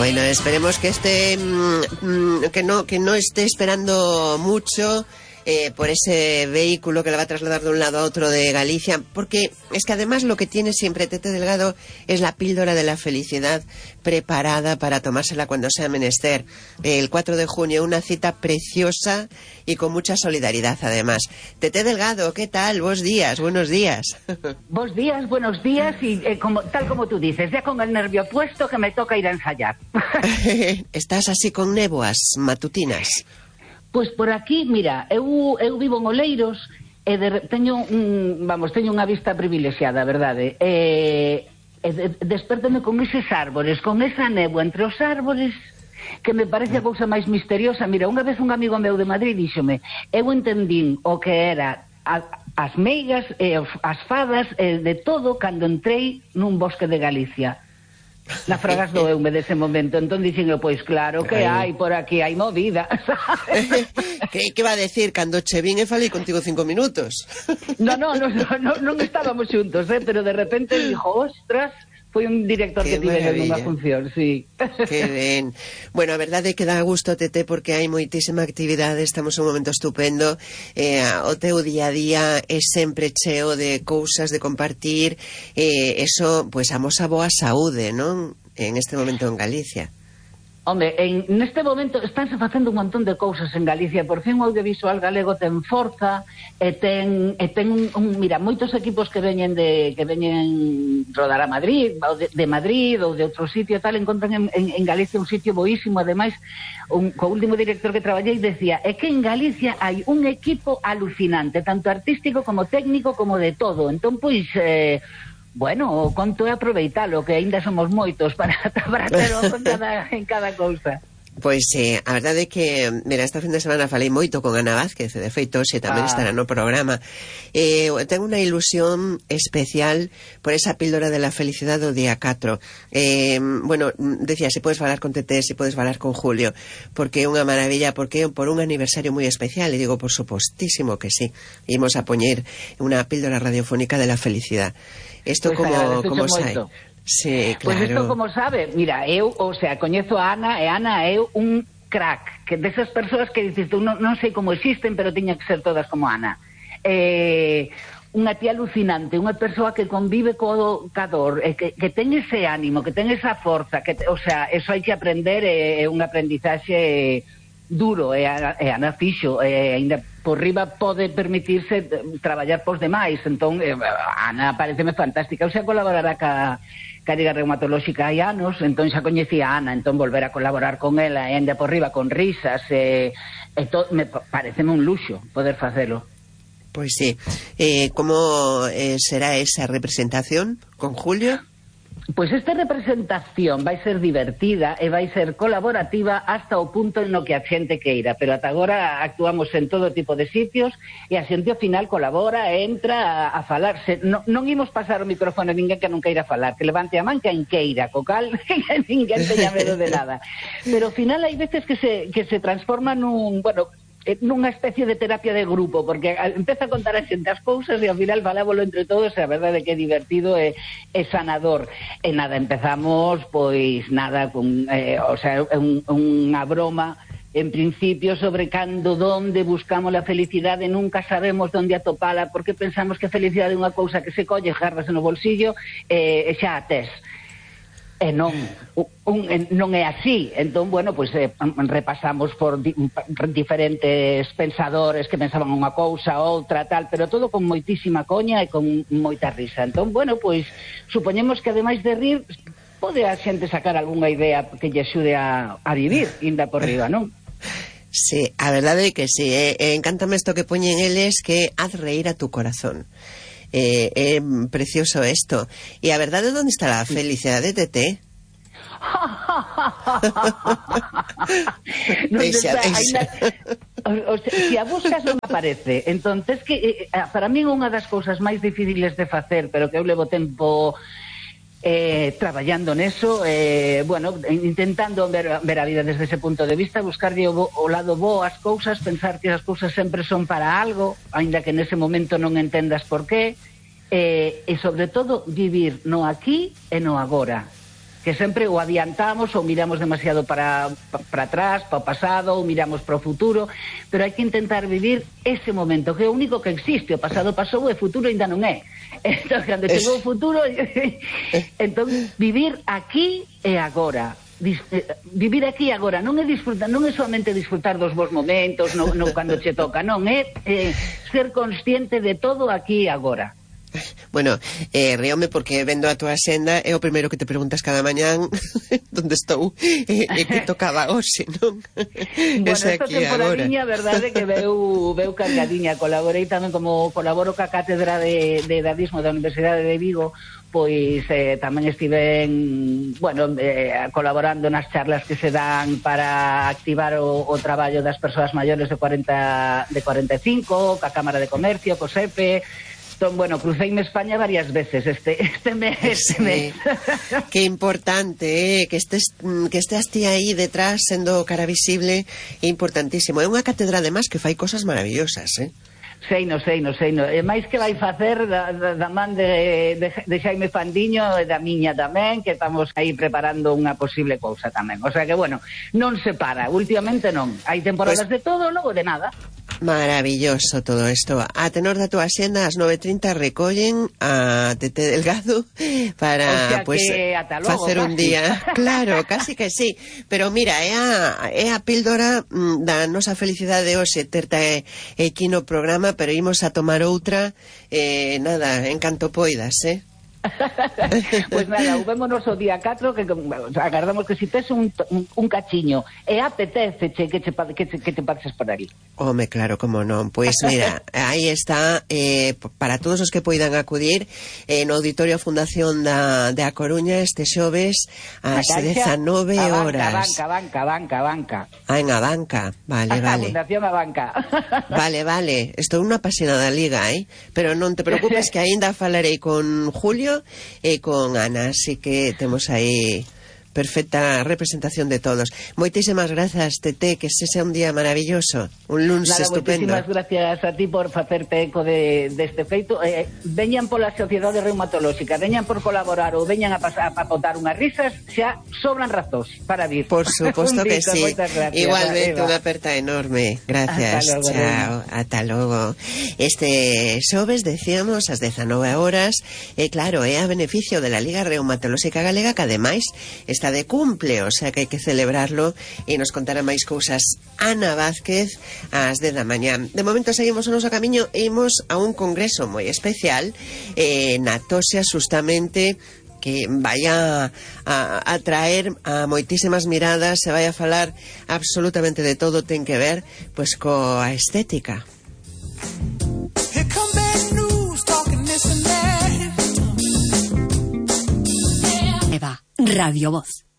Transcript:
Bueno, esperemos que que no esté esperando mucho por ese vehículo que la va a trasladar de un lado a otro de Galicia, porque es que además lo que tiene siempre Tete Delgado es la píldora de la felicidad preparada para tomársela cuando sea menester. El 4 de junio, una cita preciosa y con mucha solidaridad además. Tete Delgado, ¿qué tal? Buenos días. Buenos días y tal como tú dices, ya con el nervio puesto que me toca ir a ensayar. ¿Estás así con néboas matutinas? Pois por aquí, mira, eu vivo en Oleiros e teño unha vista privilexiada, verdade? Despertame con eses árbores, con esa néboa entre os árbores, que me parece a cousa máis misteriosa. Mira, unha vez un amigo meu de Madrid díxome, eu entendín o que era as meigas e as fadas de todo cando entrei nun bosque de Galicia. Na Fragas doeume dese momento. Entón dixen eu, pois claro que hai por aquí, hai movida. Que va a decir? Cando che vin e falei contigo 5 minutos. Non estábamos xuntos, pero de repente dixo, ostras, foi un director que tive nunha función, sí. Que ben. Bueno, a verdade é que dá gusto, Tete, porque hai moitísima actividade, estamos en un momento estupendo, o teu día a día é sempre cheo de cousas de compartir, eso, pois, amosa boa saúde, non? En este momento en Galicia. Home, neste momento estánse facendo un montón de cousas en Galicia. Por fin o audiovisual galego ten forza e ten mira, moitos equipos que veñen rodar a Madrid, ou de Madrid ou de outro sitio tal, encontran en Galicia un sitio boísimo. Ademais, co último director que traballei decía, é que en Galicia hai un equipo alucinante, tanto artístico como técnico como de todo. Entón, pois, bueno, o conto é aproveitalo, que aínda somos moitos para terlo en cada cousa. Pois a verdade é que, mira, esta fin de semana falei moito con Ana Vázquez, de feito, xe tamén estará no programa. Tengo unha ilusión especial por esa píldora de la felicidade do día 4. Bueno, decía, se podes falar con Tete, se podes falar con Julio, porque é unha maravilla, porque é por un aniversario moi especial, e digo, por supostísimo que sí. Imos a poñer unha píldora radiofónica de la felicidade. Isto pues como sai? Sí, claro. Pois isto como sabe, mira, eu, coñezo a Ana, e Ana é un crack, que desas persoas que dices tú, non sei como existen, pero tiña que ser todas como Ana. Unha tía alucinante, unha persoa que convive co dor, que ten ese ánimo, que ten esa forza, eso hai que aprender, é un aprendizaxe duro, e Ana fixo, ainda por riba pode permitirse traballar pos demais. Entón, Ana pareceme fantástica. Eu xa colaborará ca Liga Reumatolóxica hai anos, entón xa coñecía a Ana, entón volver a colaborar con ela, e ainda por riba con risas, pareceme un luxo poder facelo. Pois sí. Como será esa representación con Julio? Pois esta representación vai ser divertida e vai ser colaborativa hasta o punto no que a xente queira, pero ata agora actuamos en todo tipo de sitios e a xente ao final colabora, entra a falarse. Non imos pasar o micrófono a ninguén que non queira falar, que levante a man quen queira, co cal ninguén teña medo de nada. Pero ao final hai veces que se transforma nunha especie de terapia de grupo, porque empeza a contar a xente as cousas e ao final falábolo entre todos, e a verdade é que é divertido e sanador. E nada, empezamos pois nada con unha broma en principio sobre onde buscamos a felicidade, nunca sabemos onde atopala, porque pensamos que a felicidade é unha cousa que se colle, gárrase no bolsillo e xa a tes. E non é así. Entón, bueno, pois repasamos por diferentes pensadores que pensaban unha cousa, outra, tal, pero todo con moitísima coña e con moita risa. Entón, bueno, pois supoñemos que ademais de rir, pode a xente sacar algunha idea que lle axude a vivir, inda por riba, non? Sí, a verdade é que sí. Encántame isto que poñen eles, que haz reír a tu corazón. É precioso isto. E a verdade, onde está a felicidade, Tete? Se a buscas non aparece. Entón, que para mí unha das cousas máis difíciles de facer, pero que eu levo tempo traballando neso, intentando ver a vida desde ese punto de vista, buscarlle o lado bo ás cousas, pensar que as cousas sempre son para algo, aínda que nese momento non entendas por qué, e sobre todo vivir no aquí e no agora. que sempre o adiantamos ou miramos demasiado para atrás, para o pasado, ou miramos para o futuro, pero hai que intentar vivir ese momento, que é o único que existe. O pasado pasou e o futuro ainda non é. Entón, cando chegou o futuro, entón, vivir aquí e agora. Vivir aquí e agora non é disfrutar, non é solamente disfrutar dos bons momentos no cando che toca, non é ser consciente de todo aquí e agora. Bueno, ríome porque vendo a túa senda é o primeiro que te preguntas cada mañán onde estou e que tocaba hoxe, non? Bueno, esta temporadiña, verdade, que veu cargadiña. Colaborei tamén, como colaboro ca Cátedra de Dadismo da Universidade de Vigo, pois tamén estiven, bueno, colaborando nas charlas que se dan para activar o traballo das persoas maiores de 45, ca Cámara de Comercio, co SEPE. Entón, bueno, cruceime España varias veces este mes. Que importante, que estés ti aí detrás sendo cara visible, é importantísimo. É unha cátedra además que fai cosas maravillosas, Seino. E máis que vai facer da man de Xaime Fandiño e da miña tamén, que estamos aí preparando unha posible cousa tamén. O sea que, bueno, non se para, últimamente non. Hai temporadas de todo, logo de nada. Maravilloso todo isto. A tenor da túa xenda, ás 9:30 recollen a Tete Delgado para, pues, facer un día. Claro, casi que sí. Pero mira, é a píldora da nosa felicidade hoxe terte aquí no programa, pero imos a tomar outra, nada, en canto poidas, Pues nada, vémonos o día 4, que agardamos que si tes un cachiño e apetece que te pases por ali. Home, claro, como non. Pois mira, aí está, para todos os que poidan acudir no Auditorio Fundación da Coruña este xoves ás 19 horas. Banca. Ah, en a banca, vale. Fundación a banca. Vale, estou unha apasionada liga, pero non te preocupes que aínda falarei con Julio e con Ana, así que temos aí perfecta representación de todos. Moitísimas grazas, Tete, que ese sea un día maravilloso, un lunes estupendo. Moitísimas gracias a ti por facerte eco deste feito. Veñan pola Sociedade Reumatolóxica, veñan por colaborar ou veñan a botar unhas risas, xa sobran razóns para vir. Por suposto que sí. Igualmente, unha aperta enorme. Gracias, chao, ata logo. Este xoves, decíamos, ás 19 horas, claro, é a beneficio de la Liga Reumatolóxica Galega, que ademais está de cumple, o sea que hai que celebrarlo, e nos contará máis cousas Ana Vázquez ás 10 da mañá. De momento seguimos o noso camiño e imos a un congreso moi especial na Toxa, justamente, que vai a traer a moitísimas miradas, se vai a falar absolutamente de todo, ten que ver pois coa estética. Eva, Radio Voz.